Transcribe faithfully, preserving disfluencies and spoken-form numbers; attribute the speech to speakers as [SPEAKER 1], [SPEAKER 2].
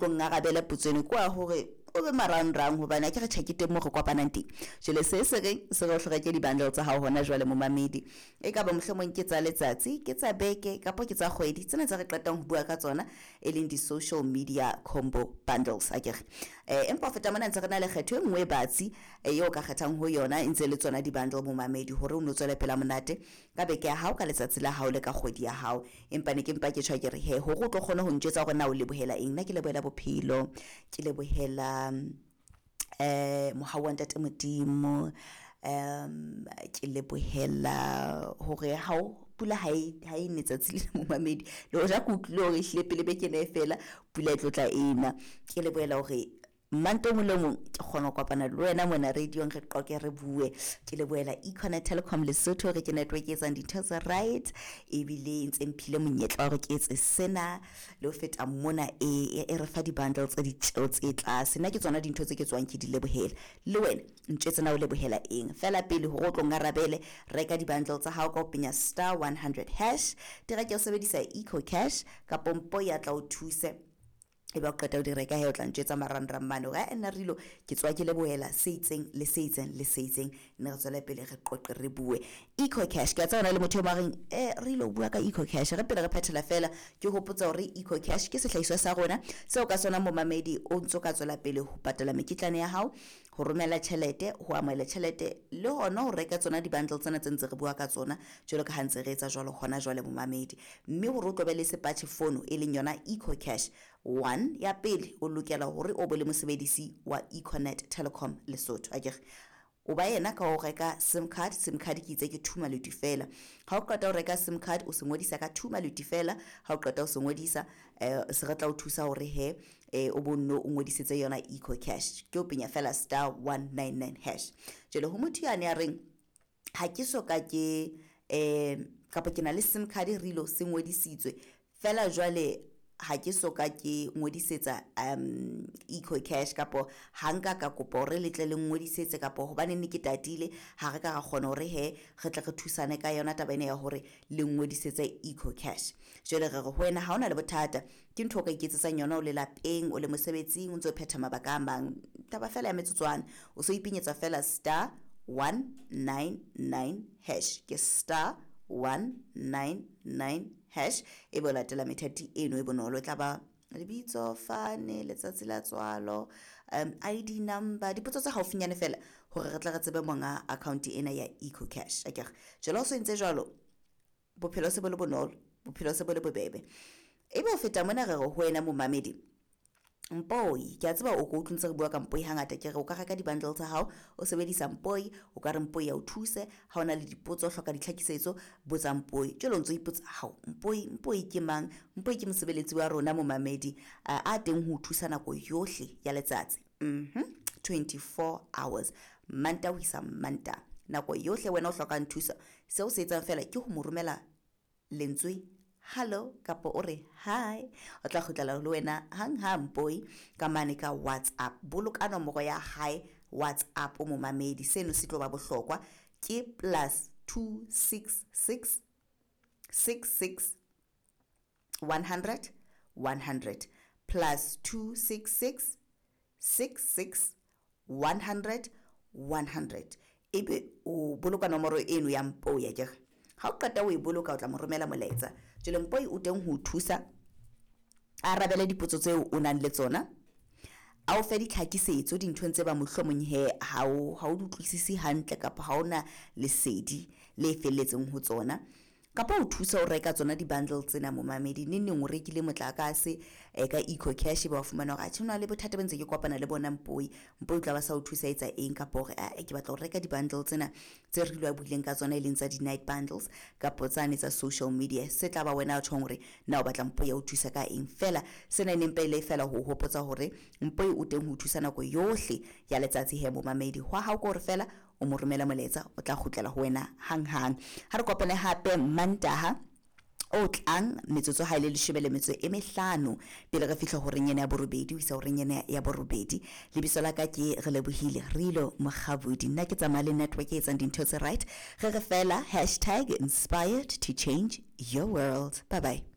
[SPEAKER 1] Tlo ngarabele potso eno kwa hore o be marangrang, hobane ha ke re tjhe ke teng moo re kopanang teng. Jwale se se reng se re o hloreke di-bundle tsa hao hona jwale momamedi, e ka ba mohlomong ke tsa letsatsi, ke tsa beke, kapa ke tsa kgwedi, tsena tse re qetang ho bua ka tsona e leng di-social media combo bundles akere. Eh, empa ho feta mona ntse re na le kgetho e nngwe e batsi eo ka kgethang ho yona e ntse le tsona di-bundle momamedi, hore o no tswele pela monate ka beke ya hao, ka letsatsi la hao le ka kgwedi ya hao. Empa ne ke mpa ke tjho ke re he hore o tlo kgona ho ntjwetsa hore na o lebohela eng. Nna ke lebohela bophelo, ke lebohela eh mohau wa ntate Modimo, um ke lebohela hore ha o pula ha e ha e ne tsatsi le momamedi, le hoja ke utlwile hore ehlile pele beke ena e fela pula e tlo tla ena. Ke lebohela hore Manto mong le mong ke kgona ho kopana le wena mona radio-ong, re qoqe re bue. Ke lebohela Econet Telecom Lesotho hore ke network e etsang dintho tse right, ebile e ntse mphile monyetla wa hore ke etse sena le ho feta mona e e re fa di-bundle tse ditjeo tse tlase. Nna ke tsona dintho tse ke tswang ke di lebohela. Le wena ntjwetse na o lebohela eng. Fela pele hore o tlo ngarabele, reka di-bundle tsa hao ka ho penya star one hundred hash, di reke o sebedisa Eco Cash kapo mpo ya tla o thuse. Ebe o qeta ho di reka he, o tla ntjwetsa marangrang mane hore ha nna Rilo ke tswa ke lebohela se itseng le se itseng le se itseng, ne re tswele pele re qoqe re bue. Eco Cash, ke a tseba hona le motho e mong a reng eh Rilo o bua ka Eco Cash. Re pele re phethela fela ke hopotsa hore Eco Cash ke sehlahiswa sa rona seo ka sona momamedi o ntso ka tswela pele ho patala mekitlane ya hao, ho romela tjhelete, ho amohela tjhelete, le hona ho reka tsona di-bundle tsena tse ntse re bua ka tsona jwalo ka ha ntse re etsa jwalo hona jwale momamedi. Mme hore o tlo be le sepatjhe fono e leng yona Eco Cash one ya pele, o lokela hore o be le mosebedisi wa Econet Telecom Lesotho akere. O ba yena ka ho reka SIM card, SIM card ke itse ke two maluti fela. Ha o qeta ho reka SIM card o se ngodisa ka two maluti fela. Ha o qeta ho se ngodisa eh se re tla o thusa hore he eh o bonno o ngodisetse yona Eco Cash. Ke o penya fela star one nine nine hash. Jwale ho motho yane ya reng ha ke so ka ke eh kapa ke na le SIM card Rilo se ngodisitswe fela jwale ha ke so ka ke ngodisetsa um Eco Cash kapo ha nka ka kopa hore le tle le ngodisetse kapo hobane ne ke tatile ha re ka ra kgona hore he re tle re thusane ka yona taba ena ya hore le ngodisetse Eco Cash. Jwale re re ho wena ha ona le bothata, ke ntho o ka iketsetsang yona o le lapeng, o le mosebetsing, o ntso phetha mabaka a mang, taba fela ya metsotswana. O so ipinyetsa fela star one nine nine hash, ke star one nine nine hash, e bo latela methati eno e bonolo. E tla ba lebitso, fane, letsatsi la tswalo, um I D number, dipotso tse haufinyane fela hore re tle re tsebe monga account ena ya Eco Cash akere. Jwale ha o so entse jwalo, bophelo se bo le bonolo, bophelo se bo le bobebe. Ebe ho feta mona re re ho wena momamedi Mpoi, ke a tseba o ko utlwe ntse re bua ka Mpoi hangata, ke re o ka reka di-bundle tsa hao o sebedisa Mpoi, o ka re Mpoi ya o thuse ha o na le dipotso, o hloka ditlhakisetso, botsa Mpoi. Jwale o ntso ipotsa, hao Mpoi, Mpoi ke mang? Mpoi ke mosebeletsi wa rona momamedi, a, a teng ho o thusa nako yohle ya letsatsi. Mhm, twenty-four hours, Manta ho isa Manta, nako yohle wena o hlokang thuso, seo se etsang fela ke ho mo romela lentswe hello kapa o re hi, o tla kgutlela le wena hang ha Mpoi ka mane ka WhatsApp. Boloka nomoro ya hae WhatsApp o momamedi, seno se tlo ba bohlokwa, ke plus two six six six six one hundred one hundred, plus two six six six six one hundred one hundred. Ebe o boloka nomoro eno ya Mpoi akere. Ha o qeta o e boloka o tla mo romela molaetsa. Jwale Mpoi o teng ho o thusa, a arabele dipotso tseo o nang le tsona, a o fe ditlhakisetso dinthong tse ba mohlomong he ha o, ha o di utlwisise hantle kapa ha ona lesedi le felletseng ho tsona, kapa o thusa ho reka tsona di-bundle tsena momamedi. Neng neng o rekile motlakase eh, ka Eco Cash, ba fumana hore atjhe, hona le bothata bo ntse ke kopana le bona Mpoi. Mpoi o tla ba sa o thusa etsa eng, kapa hore a ke batla ho reka di-bundle tsena tse re ilwa buileng ka tsona e leng tsa di-night bundles kapa tsane tsa social media. Se tla ba wena o tjhong hore na o batla Mpoi ya o thusa ka eng. Fela sena e neng pele fela ho hopotsa hore Mpoi o teng ho thusa nako yohle ya letsatsi he momamedi. Hwa hao ke hore fela o mo romela molaetsa, o tla kgutlela ho wena hang hang. Ha re kopane hape Mantaha o tlang metsotso ha e le leshome le metso e mehlano pele re fihla horeng ena ya borobedi ho isa horeng ena ya borobedi. Lebitso la ka ke Relebohile Rilo Mokgabudi. Nna ke tsamaya le network e etsang dintho tse right. Re re fela hashtag inspired to change your world. Bye bye.